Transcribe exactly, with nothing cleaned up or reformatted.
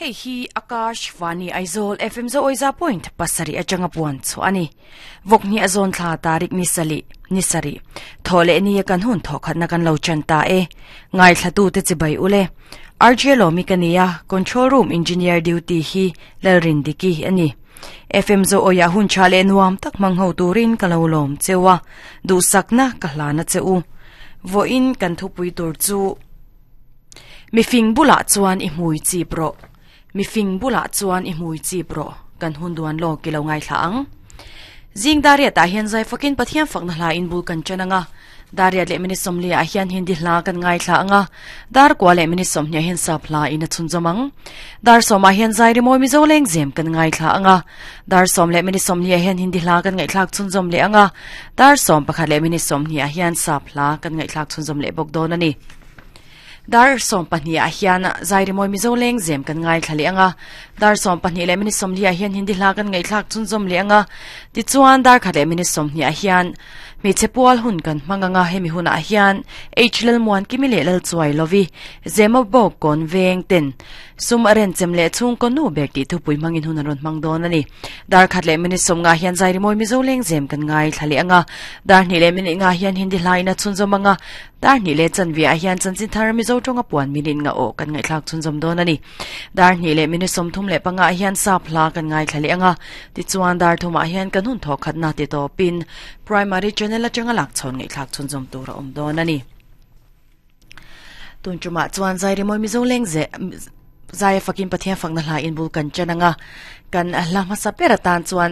Hei hi Akashvani Aizawl F M zo oiza point pasarih atanga puan chu ani. Vawk ni a zawn thla tarik ni sali ni sari thaw leh ni a kan hun thaw khatna kan lo chan ta e. Ngaithla te chibai ule. R J Lomi kania control room engineer duty hi Lalrindiki ani. F M zo oya hun cha le nuam tak mang ho turin ka lo lom chewa du sakna ka hlana cheu. Vo in kan thupui tur chu mi fing bula chuan i hmui chi pro, mi fing bula chuan i hmui chi pro. Kan hun duan lo ki lo ngai thla ang. Zing daria ta hian zai fakin Pathian fakna hla in bul kan chananga. Daria le mini somli a hian Hindi hla kan ngai thla anga. Dar kwa le mini som hnia hian sap hla in a chun zomang. Dar som a hian zai ri moi Mizo leng zem kan ngai thla anga. Dar som le mini som hnia hian Hindi hla kan ngai thlak chun zom le anga. Dar som pakhat le mini som hnia hian sap hla kan ngai thlak chun zom le bok don ani. Dar som pahnih a hian zai ri moi Mizo leng zem kan ngai thlali anga. Dar som pahnih le mini som li a hian Hindi hla kan ngai thlak chun zom le anga. Ti chuan dar khat le mini som hnih a hian mi chepual hun kan manganga. Hemi hun a hian H lel muan kimi le lal chuai lovi zema bok kon veng ten sum aren chem le chung ko nu bek ti thu pui mangin hun ron mang don ani. Dar khat le mini som nga hian zai ri moi Mizo leng zem kan ngai thlali anga. Dar ni le mini nga hian Hindi hlai na chun zom anga. Dar ni le chan vi a hian chan chin thar Mizo tonga puan minin nga o kan ngai thlak chun zom don ani. Dar ni le mini som thum le panga hian sap hla kan ngai thlali anga. Ti chuan dar thuma hian kan hun tho khat na ti to pin primary channel atanga lak chon ngai thlak chun zom tur a om don ani. Tun chuma chuan zai ri moi Mizo leng ze zai fakin Pathian fakna hla in bul kan chananga. Kan hla hmasa pera tan chuan